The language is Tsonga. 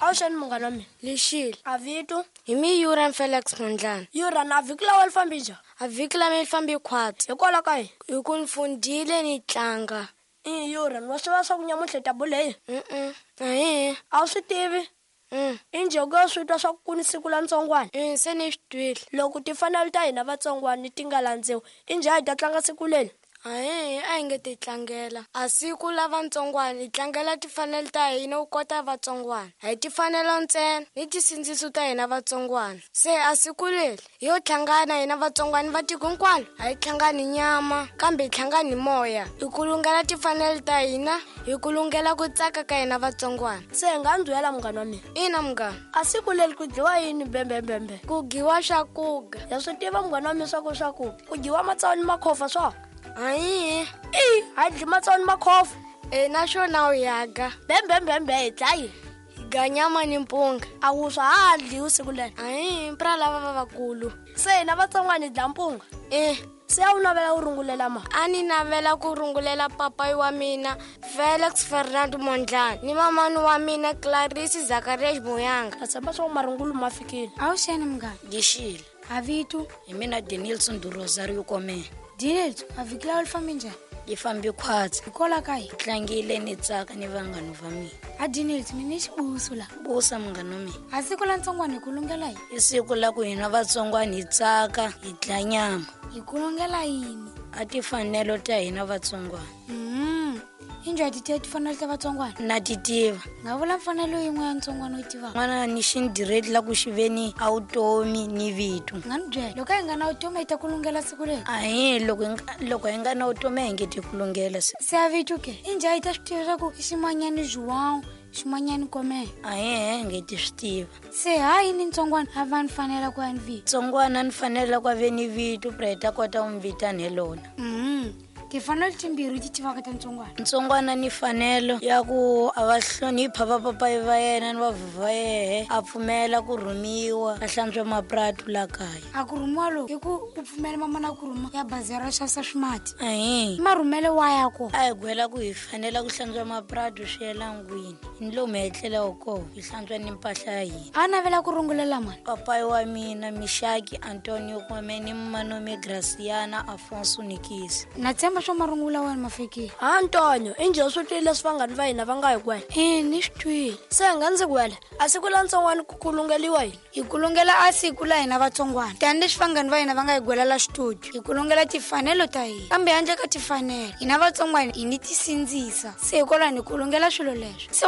Awuxeni munghana wa mina. Lexile. A vito? Hi mi Yuran Felix Mondlane. Yuran, a vhiki lawa li fambi njhani? A vhiki la mi fambi khwatsi. Hikwalaho ka yini? Hi ku ni fundile ni tlanga. I Yuran, wa swi tiva swa ku nyamuntlha hi ta bula hi yini? Ahi. A wu swi tivi? I njhe ku swi twa swa ku ku ni siku la ntsongwana? Se ni swi twile. Loko timfanelo ta hina vatsongwana ti nga landziwi, i njhe a hi ta tlanga siku leri? Ahi, a hi nge ti tlangela. A siku la vatsongwana hi tlangela timfanelo ta hina u kota vatsongwana. A hi timfanelo ntsena ni tisindziso ta hina vatsongwana. Se a siku leri hi yo hlangana hina vatsongwana va tiko hinkwalo. A hi hlangani nyama kambe hi hlangani moya. Hi kulungela timfanelo ta hina, hi kulungela ku tsaka ka hina vatsongwana. Se hi nga ndzuyela munghana wa mina. Ina munghana. A siku leri ku dyiwa yini bembembembe? Ku dyiwa swakuga. Ya swi tiva munghana wa mina swa ku swaku ku dyiwa matsawu ni makhofa swa? Ayi. I ha dyi matsawu ni makhofa. E naswona u yaga. Bembembembe hi dlayi. Hi ga nyama ni mpunga. A wuswa ha dliwi siku leri. Ayi, mpra lava va vakulu. Se hina vatsongwana hi dla mpunga. E. Se a wu navela ku rungulela ma? A ni navela ku rungulela papayi wa mina Felix Fernando Mondlane ni mamani wa mina Clarisse Zacharias Muyanga. Na tshemba swa ku marungulu ma fikile. Awuxeni munghana. Ngixile. A vito? Hi mina Denilson do Rosario Komela. Denilson, a vhiki lawa li fambi njhani? Yi fambi khwatsi. Hikwalaho ka yini? Tlangile ni tsaka ni vanghana va mina. A Denilson, mina xibuso la. Busa munghana wa mina. A siku la ntsongwana hi ku lungela yini? I siku la ku hina vatsongwana hi tsaka, hi dla nyama. Hi ku lungela yini? A timfanelo ta hina vatsongwana. I njhani ti tiva timfanelo ta vatsongwana? Na ti tiva. Nga vula mfanelo yin'we ya ntsongwana u yi tivaka? N'wana ni xindireti la ku xi ve ni a vutomi ni vito. Nga ni byela, loko a hi nga na vutomi hi ta ku lungela siku leri? Ahi, loko hi nga na vutomi a hi nge ti ku lungela siku. Se a vito ke? I njhani hi ta swi tiva swa ku i ximanyani João, ximanyani Komela? Ahi, hi nge ti swi tiva. Se ha yini ntsongwana a va ni fanela ku ya ni vito? Ntsongwana ni fanela ku va ni vito, pra hi ta kota ku n'wi vitana hi lona. Timfanelo timbirhi ti tivaka ta ntsongwana. Ntsongwana ni fanelo ya ku a va hlonipha vapapayi va yena ni vavhovho va yehe, a pfumela ku rhumiwa a hlantswa mapratu la kaya. A ku rhumiwa loku i ku u pfumela mamana ku rhuma ya bazi ra xavisa swimati. Ahi. Marhumele wa ya ko. A hi gwela ku hi fanela ku hlantswa mapratu swi yela ngwini. Ni lomu hi etlelaku kona, hi hlantswa ni mpahla ya hina. A navela ku rungulela mani? Papayi wa mina Mishaki Antonio Kwame ni Manome Graciana Afonso Nikisi. Na tshemba swa marungula wa wena ma fikile. Ha Antonio, i njhe swi twile leswi vanghani va hina va nga hi kwela? E, ni swi twile. Se hi nga ndzi kwela, a siku la ntsongwana ku kulungeliwa yini? Hi kulungela a siku la hina vatsongwana. Tanihileswi vanghani va hina va nga hi gwela la xitudio, hi kulungela timfanelo ta hina. Kambe handle ka timfanelo, hina vatsongwana hi ni tisindzisa. Se hikwalaho ni kulungela swilo leswo. Se